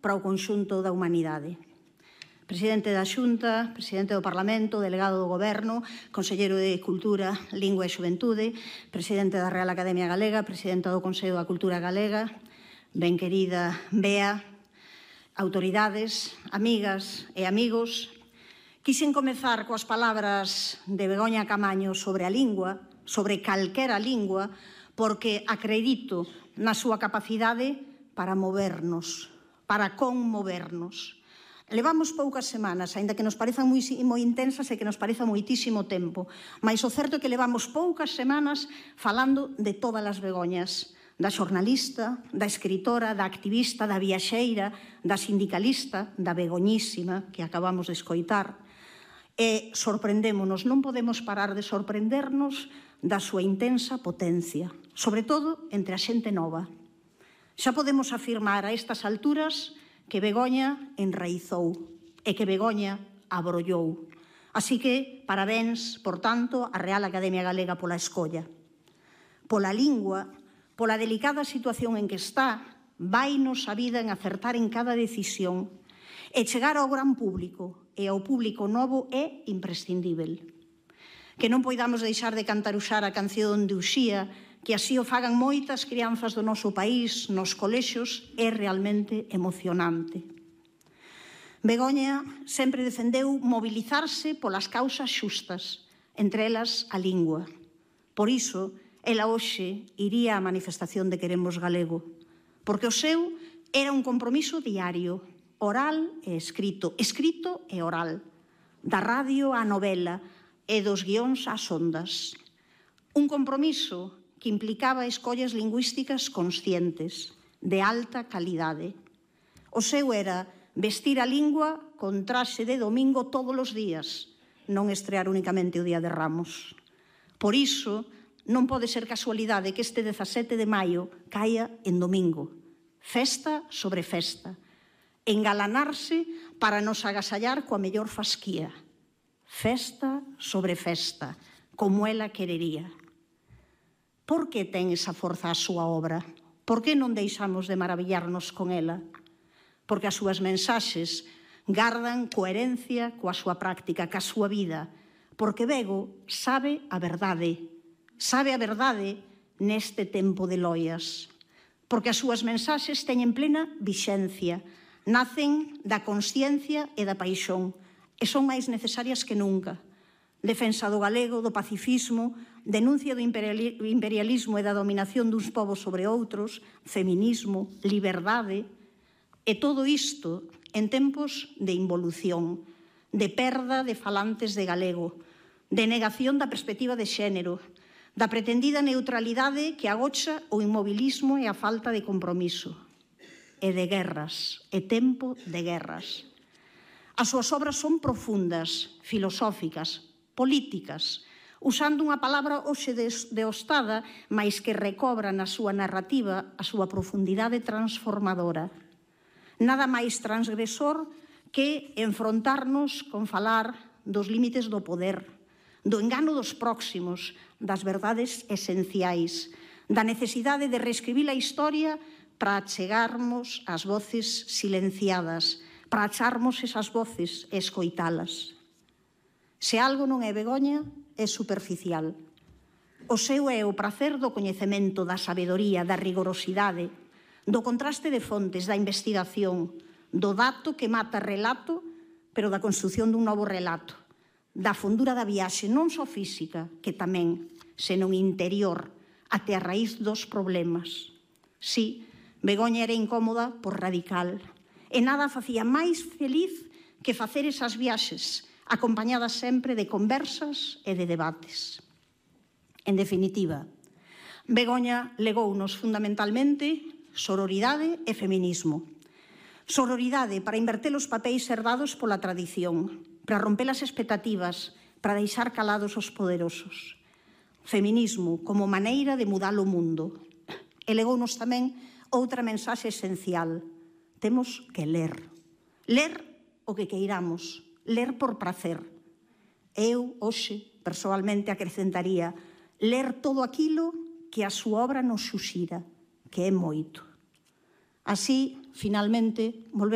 para o conxunto da humanidade. Presidente da Xunta, Presidente do Parlamento, Delegado do Goberno, Conselleiro de Cultura, Lingua e Xuventude, Presidente da Real Academia Galega, Presidenta do Consello da Cultura Galega, ben querida Bea, autoridades, amigas e amigos, quixen comezar coas palabras de Begoña Camaño sobre a lingua, sobre calquera lingua, porque acredito na súa capacidade para movernos, para conmovernos. Levamos poucas semanas, aínda que nos parezan moi intensas e que nos pareza moitísimo tempo, mas o certo é que levamos poucas semanas falando de todas as Begoñas, da xornalista, da escritora, da activista, da viaxeira, da sindicalista, da begoñísima que acabamos de escoitar. E sorprendémonos, non podemos parar de sorprendernos da súa intensa potencia, sobre todo entre a xente nova. Xa podemos afirmar a estas alturas que Begoña enraizou e que Begoña abrollou. Así que, parabéns, por tanto, á Real Academia Galega pola escolla. Pola lingua, pola delicada situación en que está, vainos a vida en acertar en cada decisión e chegar ao gran público e ao público novo é imprescindível. Que non poidamos deixar de cantaruxar a canción de Uxía, que así o fagan moitas crianzas do noso país nos colexios, é realmente emocionante. Begoña sempre defendeu mobilizarse polas causas xustas, entre elas a lingua. Por iso, ela hoxe iría á manifestación de Queremos Galego, porque o seu era un compromiso diario, oral e escrito, escrito e oral, da radio á novela e dos guións ás ondas. Un compromiso que implicaba escollas lingüísticas conscientes, de alta calidade. O seu era vestir a lingua con traxe de domingo todos os días, non estrear únicamente o Día de Ramos. Por iso, non pode ser casualidade que este 17 de maio caia en domingo. Festa sobre festa. Engalanarse para nos agasallar coa mellor fasquía. Festa sobre festa, como ela querería. Por que ten esa forza a súa obra? Por que non deixamos de maravillarnos con ela? Porque as súas mensaxes gardan coherencia coa súa práctica, coa súa vida. Porque Bego sabe a verdade neste tempo de loias. Porque as súas mensaxes teñen plena vixencia, nacen da consciencia e da paixón, e son máis necesarias que nunca. Defensa do galego, do pacifismo, denuncia do imperialismo e da dominación duns povos sobre outros, feminismo, liberdade, e todo isto en tempos de involución, de perda de falantes de galego, de negación da perspectiva de xénero, da pretendida neutralidade que agocha o inmobilismo e a falta de compromiso, e de guerras, e tempo de guerras. As súas obras son profundas, filosóficas, políticas, usando unha palabra hoxe deostada, mais que recobra na súa narrativa a súa profundidade transformadora. Nada máis transgresor que enfrontarnos con falar dos límites do poder, do engano dos próximos, das verdades esenciais, da necesidade de reescribir a historia para chegarmos ás voces silenciadas, para acharmos esas voces e escoitalas. Se algo non é Begoña, é superficial. O seu é o prazer do coñecemento, da sabedoría, da rigorosidade, do contraste de fontes, da investigación, do dato que mata relato, pero da construción dun novo relato, da fondura da viaxe, non só física, que tamén, senón interior, até a raíz dos problemas. Si, Begoña era incómoda por radical, e nada facía máis feliz que facer esas viaxes, acompañadas sempre de conversas e de debates. En definitiva, Begoña legounos fundamentalmente sororidade e feminismo. Sororidade para inverter os papéis herdados pola tradición, para romper as expectativas, para deixar calados os poderosos. Feminismo como maneira de mudar o mundo. E legounos tamén outra mensaxe esencial. Temos que ler. Ler o que queiramos. Ler por prazer. Eu, hoxe, persoalmente, acrecentaría ler todo aquilo que a súa obra nos xuxira, que é moito. Así, finalmente, volvemos